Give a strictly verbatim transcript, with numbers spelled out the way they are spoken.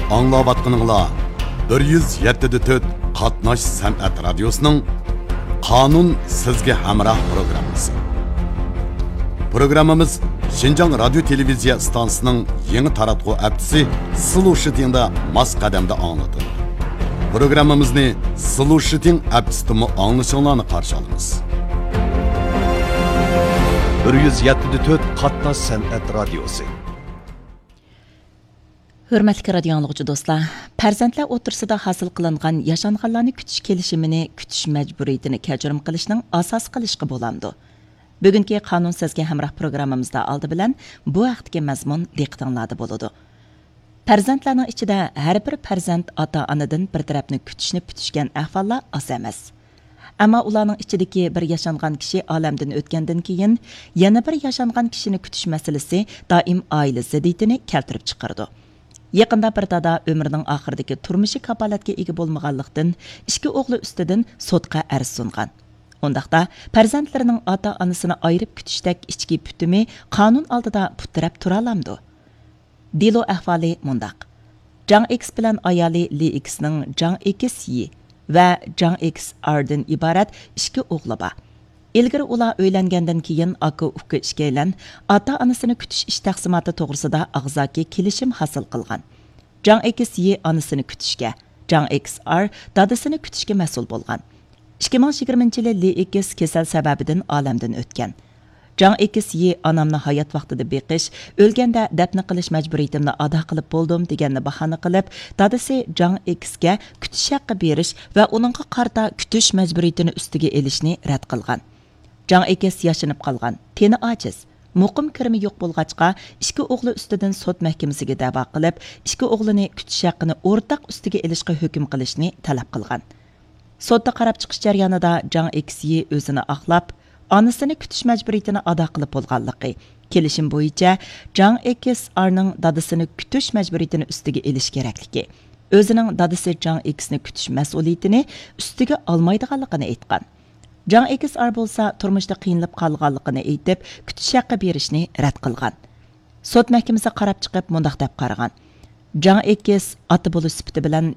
ئاڭلاۋاتقىنىڭلار بىر يۈز يەتتە دە تۆت قاتناش سەنئەت رادىيوسىنىڭ قانۇن سىزگە ھەمراھ پروگراممىسى. پروگراممىمىز شىنجاڭ رادىيو تېلېۋىزىيە ئىستانسىسىنىڭ يېڭى تاراتقۇ ئەپچىسى سلۇشىتىڭدا ماس قەدەمدە ئاڭلىتىلىدۇ. پروگراممىمىزنى سلۇشىتىڭ ئەپچىسىدىمۇ ئاڭلىشىڭلارنى قارشى ئالىمىز. بىر يۈز يەتتە دە تۆت قاتناش سەنئەت رادىيوسى. ھۆرمەتلىك رادىيو ئاڭلىغۇچى دوستلار، پەرزەنتلەر ئوتتۇرىسىدا ھاسىل قىلىنغان ياشانغانلارنى كۈتۈش كېلىشىمىنى كۈتۈش مەجبۇرىيىتىنى كەچۈرۈم قىلىشنىڭ ئاساسى قىلىشقا بولامدۇ؟ بۈگۈنكى قانۇن سىزگە ھەمراھ پروگراممىمىزدا ئالدى بىلەن بۇ ھەقتىكى مەزمۇن دىققىتىڭلاردا بولىدۇ. پەرزەنتلەرنىڭ ئىچىدە ھەر بىر پەرزەنت ئاتا-ئانىدىن بىر تەرەپنى كۈتۈشنى پۈتۈشكەن ئەھۋاللار ئاز ئەمەس. ئەمما ئۇلارنىڭ ئىچىدىكى بىر ياشانغان كىشى ئالەمدىن ئۆتكەندىن كېيىن، يەنە بىر ياشانغان كىشىنى كۈتۈش مەسىلىسى دائىم ئائىلە زىددىيىتىنى كەلتۈرۈپ چىقىرىدۇ. يېقىندا بىر دادا ئۆمرىنىڭ ئاخىرىدىكى تۇرمۇشى كاپالەتكە ئىگە بولمىغانلىقتىن، ئىككى ئوغلى ئۈستىدىن سوتقا ئەرز سۇنغان. ئۇنداقتا، پەرزەنتلىرىنىڭ ئاتا-ئانىسىنى ئايرىپ كۈتۈشتەك ئىچكى پۈتۈمى قانۇن ئالدىدا پۇت تىرەپ تۇرالامدۇ؟ دېلو ئەھۋالى مۇنداق. جاڭ ئېكس بىلەن ئايالى لى ئېكسنىڭ جاڭ ئېكس يى ۋە جاڭ ئېكس ئاردىن ئىبارەت ئىككى ئوغلى بار. ئىلگىرى ئۇلار ئۆيلەنگەندىن كېيىن ئاكا-ئۇكا ئىككىيلەن ئاتا-ئانىسىنى كۈتۈش ئىش تەقسىماتى توغرىسىدا ئاغزاكى كېلىشىم ھاسىل قىلغان. جاڭ ئېكس يى ئانىسىنى كۈتۈشكە، جاڭ ئېكس ئار دادىسىنى كۈتۈشكە مەسئۇل بولغان. ئىككى مىڭ يىگىرمىنچى يىلى لى ئېكس كېسەل سەۋەبىدىن ئالەمدىن ئۆتكەن. جاڭ ئېكس يى ئانامنى ھايات ۋاقتىدا بېقىش، ئۆلگەندە دەپنە قىلىش مەجبۇرىيىتىمنى ئادا قىلىپ بولدۇم دېگەننى باھانە قىلىپ، دادىسى جاڭ ئېكسكە كۈتۈش ھەققى بېرىش ۋە ئۇنىڭغا قارىتا كۈتۈش مەجبۇرىيىتىنى ئۈستىگە ئېلىشنى رەت قىلغان. جاڭ ئېكس ياشىنىپ قالغان، تېنى ئاجىز، مۇقىم كىرىمى يوق بولغاچقا، ئىككى ئوغلى ئۈستىدىن سوت مەھكىمىسىگە دەۋا قىلىپ، ئىككى ئوغلىنى كۈتۈش ھەققىنى ئورتاق ئۈستىگە ئېلىشقا ھۆكۈم قىلىشنى تەلەپ قىلغان. سوتتا قاراپ چىقىش جەريانىدا جاڭ ئېكس يى ئۆزىنى ئاقلاپ، ئانىسىنى كۈتۈش مەجبۇرىيىتىنى ئادا قىلىپ بولغانلىقى، كېلىشىم بويىچە جاڭ ئېكس ئارنىڭ دادىسىنى كۈتۈش مەجبۇرىيىتىنى ئۈستىگە ئېلىش كېرەكلىكى، ئۆزىنىڭ دادىسى جاڭ ئېكسنى كۈتۈش مەسئۇلىيىتىنى ئۈستىگە ئالمايدىغانلىقىنى ئېيتقان. جاڭ ئېكس ئار بولسا تۇرمۇشتا قىينىلىپ قالغانلىقىنى ئېيتىپ، كۈتۈش ھەققى بېرىشنى رەت قىلغان. سوت مەھكىمىسى قاراپ چىقىپ مۇنداق دەپ قارىغان: جاڭ ئېكس ئاتا بولۇش سۈپىتى بىلەن